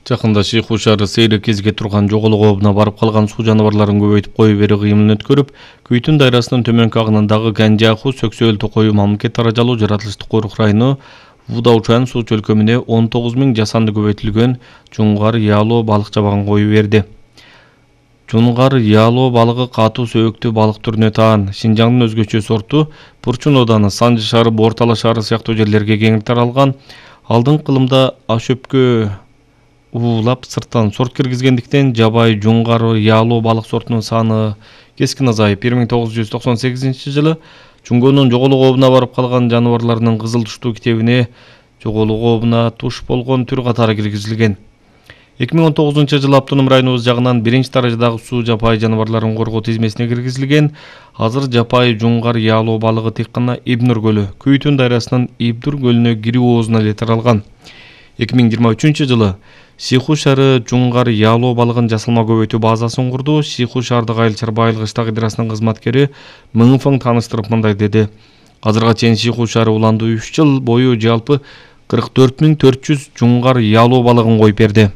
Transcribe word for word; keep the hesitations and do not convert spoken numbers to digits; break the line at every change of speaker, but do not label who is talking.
Жакында Шыйху шаары сейри кезге турган жоголук обуна барып калган суу жаныбарларын көбөйтүп кою берүү кыймылын өткөрүп, Күйтүн дайрасынын төмөнкү агынындагы Ганжаху, Сөксөөл, Токою, Мамлекет Таражалуу жаратылыштык корук району Вудаучан суу чөлкөмүнө он тогуз миң жасанды көбөйтүлгөн жунгар ялоо балык жабагын коюп берди. Жунгар ялоо балыгы катуу сөбөктүү балык түрүнө таан. Шинжаңдын өзгөчө сорту Бурчун ооданы, Санжы шаары, Бортала шаары сыяктуу жерлерге кең таралган. Алдыңкы кылымда ашөпкө уулап сырттан сорт киргизгендиктен жабай жунгар ялоо балык сортунун саны кескин азайып, бир миң тогуз жүз токсон сегизинчи жылы Чунгонун жоголук обуна барып калган жаныбарларынын кызыл туштуу китебине жоголук обуна туш болгон түр катары киргизилген. эки миң он тогузунчу жылы автоном районубуз жагынан биринчи даражадагы суу жапай жаныбарларын коргоо тизмесине киргизилген. Азыр жапай жунгар ялоо балыгы тек гана Ибнур көлү, Күйтүн дайрасынын Ибнур көлүнө кирүү оозуна эле таралган. эки миң жыйырма үчүнчү жылы Шыйху шаары жунгар ялоо балыгын жасалма көбөйтүү базасын курду. Шыйху шаардык Айыл чарба айыл кыштак идрасынын кызматкери Мыңфың тааныштырып мындай деди. Азырга чейин Шыйху шаары уланды үч жыл бою жалпы кырк төрт миң төрт жүз жунгар ялоо балыгын коюп берди.